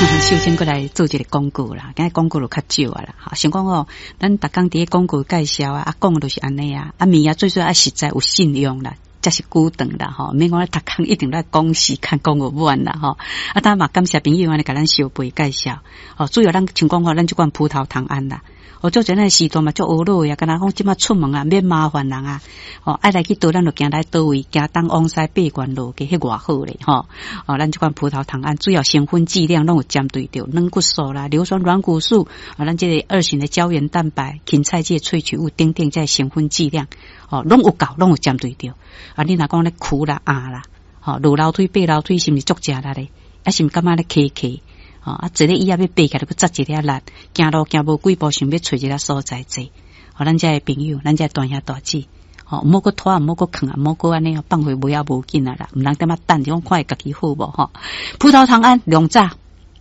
首先閣來做一个廣告啦，今日廣告就較少啊啦。想講哦，咱逐工佇咧廣告介紹啊，啊講的就是按呢啊，啊物件最主要愛實在有信用啦，才是久長啦吼，毋免講逐工一定來講時間講個滿啦吼。啊，當嘛感謝朋友按呢共咱相陪介紹。哦，主要咱像講吼，咱這款葡萄糖胺啦。哦，做陣咱時代嘛足呵咾的啊，敢若講這馬出門啊，免麻煩人啊。哦，愛來去佗，咱就行來佗位，行東往西爬懸落加，彼偌好咧吼。哦，咱這款葡萄糖胺主要成分劑量攏有針對著軟骨素啦、硫酸軟骨素啊，咱這个二型的膠原蛋白、芹菜這个萃取物等等，這个成分劑量，哦，攏有夠，攏有針對著。啊，你若講咧苦啦、壓啦，吼，落樓梯爬樓梯是毋是足食力咧？啊，是毋是感覺咧磕磕？吼，啊，坐咧椅仔欲爬起來，閣紮一下力，行路行無幾步，想欲揣一个所在坐。吼，咱遮的朋友，咱遮大兄大姊，吼，毋好閣拖，毋好閣囥啊，毋好閣按呢放予尾仔無緊啊啦，毋通踮仔等，就講看會家己好無吼。葡萄糖胺兩紮，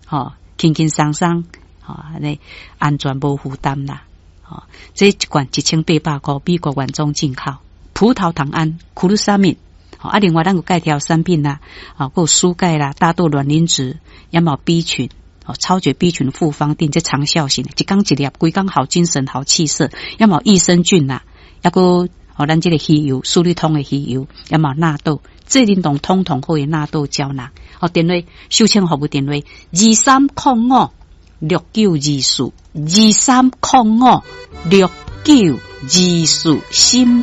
吼，輕輕鬆鬆，吼，按呢安全無負擔啦。吼，這一罐1800箍，美國原裝進口葡萄糖胺 glucosamine。啊，另外咱有介紹產品啦，啊，閣有舒鈣啦、大豆卵磷脂、也嘛有 B 群，哦，超絕 B 群複方錠，這長效型的，一工一粒，規工好精神、好氣色，也嘛有益生菌啦，抑閣哦，咱這个魚油，舒利通的魚油，也嘛有納豆，這靈動通通好的納豆膠囊。哦，電話秀清服務電話23056924，23056924，心。